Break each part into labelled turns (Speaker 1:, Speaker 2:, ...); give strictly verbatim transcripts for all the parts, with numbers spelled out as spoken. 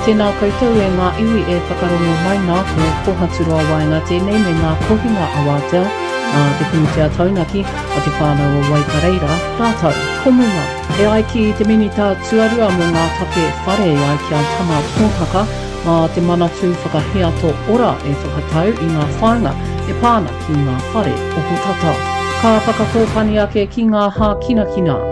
Speaker 1: Tēnā koutou e ngā iwi e whakarongo mai nā, ko Kohaturoa Waenga tēnei me ngā kohinga awatea a te pūtea taunaki a te whānau o Waikareira rātou komunga. E ai ki te Minita Tuarua mō ngā take whare e ai ki a Tama Pōtaka, mā te Manatū Whakahiato Ora e whakatau i ngā whāinga e pā ana ki ngā whare ohotata. Ka whakakōpani ake ki ngā hākinakina.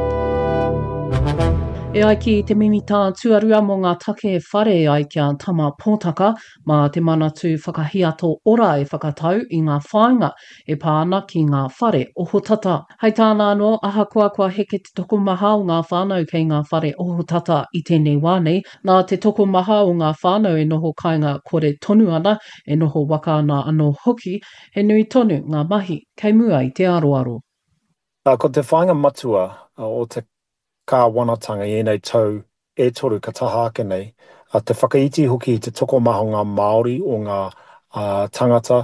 Speaker 1: E ai ki te Minita Tuarua mō ngā take whare e ai ki a Tama Pōtaka, mā te Manatū Whakahiato Ora e whakatau i ngā whāinga e pā ana ki ngā whare ohotata. Hei tāna anō, ahakoa kua heke te tokomaha o ngā whānau kei ngā whare ohotata i tēnei wā nei, nā te tokomaha o ngā whānau e noho kāinga kore tonu ana, e noho waka ana anō hoki, he nui tonu ngā mahi kei mua i te aroaro.
Speaker 2: Ko te whāinga matua o te kāwanatanga i ēnei tau e toru ka taha ake nei, te whakaiti hoki i te tokomaha o ngā Māori, o ngā tangata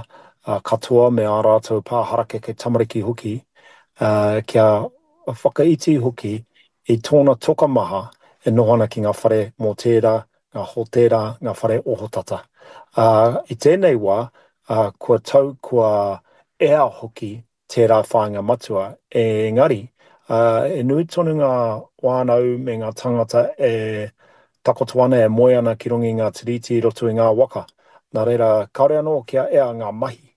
Speaker 2: katoa me ā rātou pā harakeke tamariki hoki, kia whakaiti hoki i tōna tokomaha e noho ana ki ngā whare mōtēra, ngā hōtēra, ngā whare ohotata. I tēnei wā, kua tau, kua ea hoki tērā whāinga matua, engari, e nui tonu ngā whānau me ngā tāngata e takoto ana, e moe ana ki runga i ngā tiriti i roto i ngā waka. Nā reira, kāore anō kia ea ngā mahi.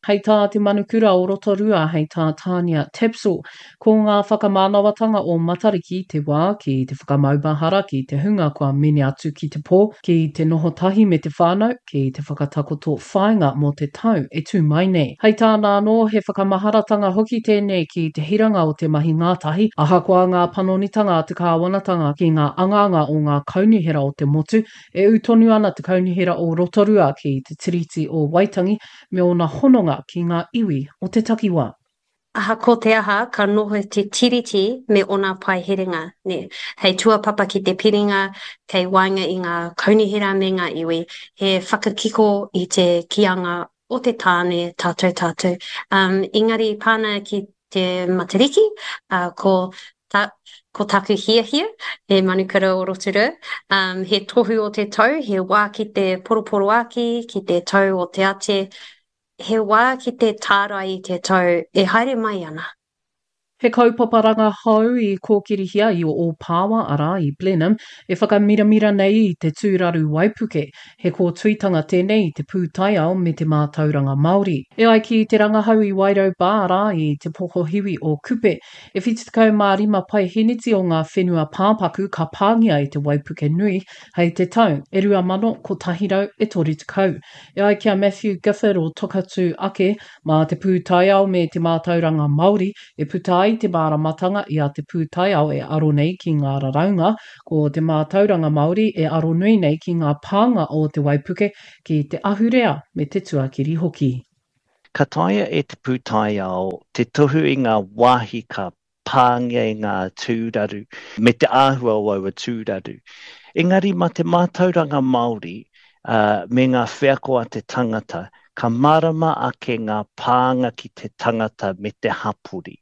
Speaker 1: Hei tā te manukura o Rotorua, hei tā Tania Tapsell, ko ngā whakamānawatanga o Matariki te wā ki te whakamaumahara ki te hunga kua mene atu ki te pō, ki te noho tahi me te whānau, ki te whakatakoto whāinga mō te tau e tū mai nei. Hei tāna anō, he whakamaharatanga hoki tēnei ki te hiranga o te mahi ngātahi, ahakoa ngā panonitanga a te kāwanatanga ki ngā angaanga o ngā kaunihera o te motu, e ū tonu ana te Kaunihera o Rotorua ki te Tiriti o Waitangi me ōna hononga ki ngā iwi o te takiwā.
Speaker 3: Ahakoa te aha, ka noho te Tiriti me ōna paeherenga, nē, hei tuapapa ki te piringa kei waenga i ngā kaunihera me ngā iwi, he whakakiko i te kīanga o te tāne tātou tātou. Um, engari pāna ki te Matariki, uh, ko ta, ko taku hiahia, he manukura o Rotorua, um, he tohu o te tau, he wā ki te poroporoaki, ki te tau o te ate, he wā ki te tārai i te tau e haere mai ana.
Speaker 1: He kaupapa rangahau i kōkirihia i Ōpāwa, arā, i Blenheim, e whakamiramira nei i te tūraru waipuke. He kōtuitanga tēnei i te pūtaiao me te mātauranga Māori. E ai ki te rangahau i Wairau Bar, arā, i Te Pokohiwi o Kupe, e whitu tekau mā rima paeheneti o ngā whenua pāpaku ka pāngia e te waipuke nui hei te tau e rua mano kotahi rau e toru tekau. E ai ki a Matthew Gifford o Tokatū Ake, mā te pūtaiao me te mātauranga Māori e puta ai te māramatanga i a te pūtaiao e aro nei ki ngā raraunga, ko te mātauranga Māori e aro nui nei ki ngā pānga o te waipuke ki te ahurea me te tuakiri hoki.
Speaker 4: Ka taea e te pūtaiao te tohu i ngā wāhi ka pāngia e ngā tūraru me te āhua o aua tūraru. Engari mā te mātauranga Māori me ngā wheako a te tangata, ka mārama ake ngā pānga ki te tangata me te hapori.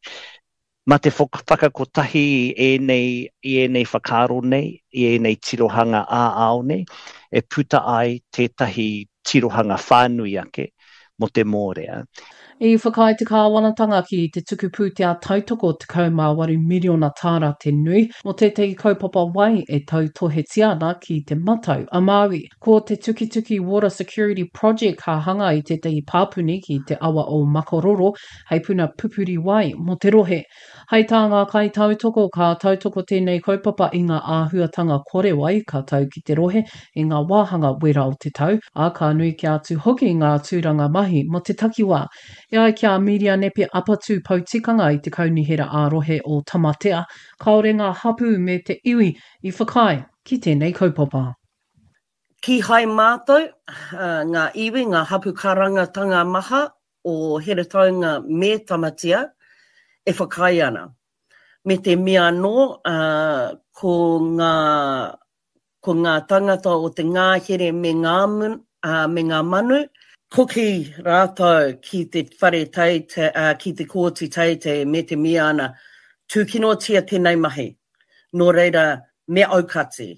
Speaker 4: Mā te whakakotahi i ēnei, i ēnei whakaaro nei, i ēnei tirohanga ā-ao nei, e puta ai tētahi tirohanga whānui ake mō te mōrea.
Speaker 1: I whakaae te kāwanatanga ki te tuku pūtea tautoko tekau mā waru miriona tāra te nui mō tētahi kaupapa wai e tautohetia ana ki Te Matau a Māui. Ko te Tukituki Water Security Project ka hanga i tētahi pāpuni ki te awa o Makaroro hei puna pupuri wai mō te rohe. Hei tā ngā kaitautoko, ka tautoko tēnei kaupapa i ngā āhuatanga kore wai ka tau ki te rohe i ngā wāhanga wera o te tau, ā, ka nui kē atu hoki ngā tūranga mahi mō te takiwā. E ai ki a Mīria Nepe Apatū Poutikanga i te Kaunihera ā-Rohe o Tamatea, kāore ngā hapū me te iwi i whakaae ki tēnei kaupapa.
Speaker 5: Kīhai mātou, ngā iwi, ngā hapū karangatanga maha o Heretaunga me Tamatea e whakaae ana. Me te mea anō, ko ngā, ko ngā tangata o te ngāhere me ngā, me ngā manu, hoki rātou ki te whare teitei, ki te kōti teitei me te mea ana, tūkinotia tēnei mahi. Nō reira, me aukati.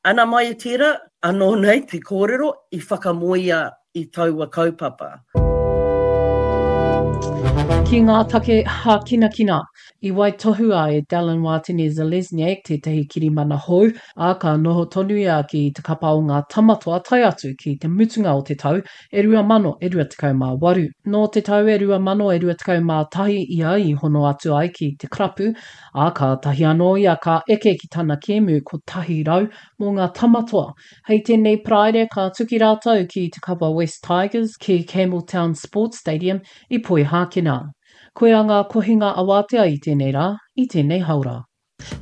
Speaker 5: Ana mai i tērā, anō nei te kōrero i whakamoea i taua kaupapa.
Speaker 1: Ki ngā take hākinakina, i waitohua e Dallin Watene-Zelezniak tētahi kirimana hou, ā, ka noho tonu ia ki te kapa o ngā Tamatoa tae atu ki te mutunga o te tau e rua mano e rua tekau mā waru. Nō te tau e rua mano e rua tekau mā tahi ia i hono atu ai ki te karapu, ā, kātahi anō ia ka eke ki tana kēmu kotahi rau mō ngā Tamatoa. Hei tēnei Paraire ka tuki rātou ki te kapa West Tigers ki Campbelltown Sports Stadium i Poihākena. Koia ngā kohinga awātea i tēnei rā, i tēnei haora.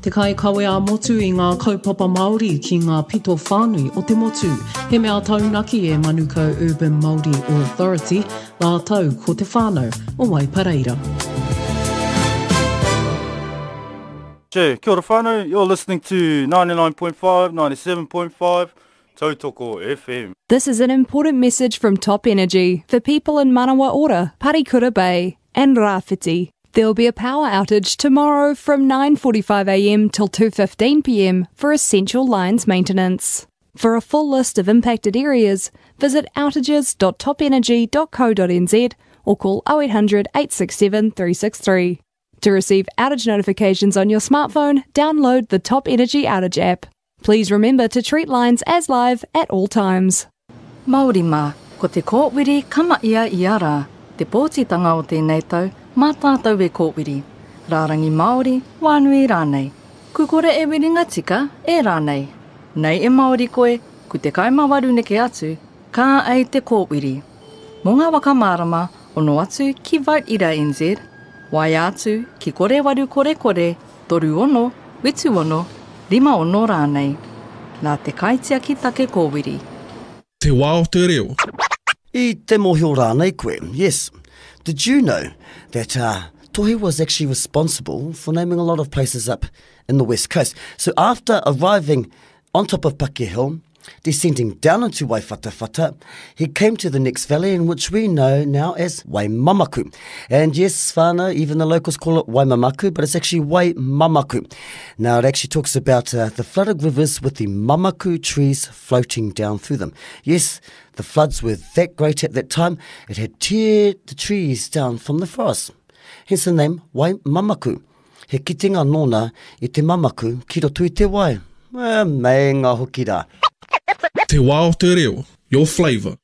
Speaker 1: Te kaikawe ā-motu i ngā kaupapa Māori ki ngā pito whānui o te motu. He mea taunaki e Manukau Urban Māori Authority rātou ko te whānau o Waipareira.
Speaker 6: Che, kia ora whānau, you're listening to ninety-nine point five, ninety-seven point five, Tautoko F M.
Speaker 7: This is an important message from Top Energy for people in Manawa Ora, Parikura Bay and Rāwhiti. There will be a power outage tomorrow from nine forty-five A M till two fifteen P M for essential lines maintenance. For a full list of impacted areas, visit outages dot top energy dot co dot n z or call oh eight hundred eight six seven three six three. To receive outage notifications on your smartphone, download the Top Energy Outage app. Please remember to treat lines as live at all times.
Speaker 8: Māori mā, ko te kōwiri kama ia ia rā, te pōtitanga o tēnei tau, mā tātou e kōwiri. Rārangi Māori, wānui rānei. Ku kore e wiringa tika, e rānei. Nei e Māori koe, ku te kaimawaru neke atu, ka ei te kōwiri. Mō ngā waka mārama, ono atu ki Vote Ira N Z, waia atu ki kore waru kore kore, toru ono, witu ono, rima ono rānei. Nā te kaitiaki take kōwiri.
Speaker 9: Te wā o te reo.
Speaker 10: I te mōhio rānei koe, yes. Did you know that, uh, Tohe was actually responsible for naming a lot of places up in the West Coast? So after arriving on top of Paki Hill, descending down into Waiwhatawhata, he came to the next valley, in which we know now as Waimamaku. And yes, whānau, even the locals call it Waimamaku, but it's actually Waimamaku. Now, it actually talks about, uh, the flooded rivers with the mamaku trees floating down through them. Yes, the floods were that great at that time, it had teared the trees down from the forest. Hence the name Waimamaku. He kitenga nōna i te mamaku ki roto i te wai. Eh, meinga hoki rā.
Speaker 9: Te wā o te reo, your flavour.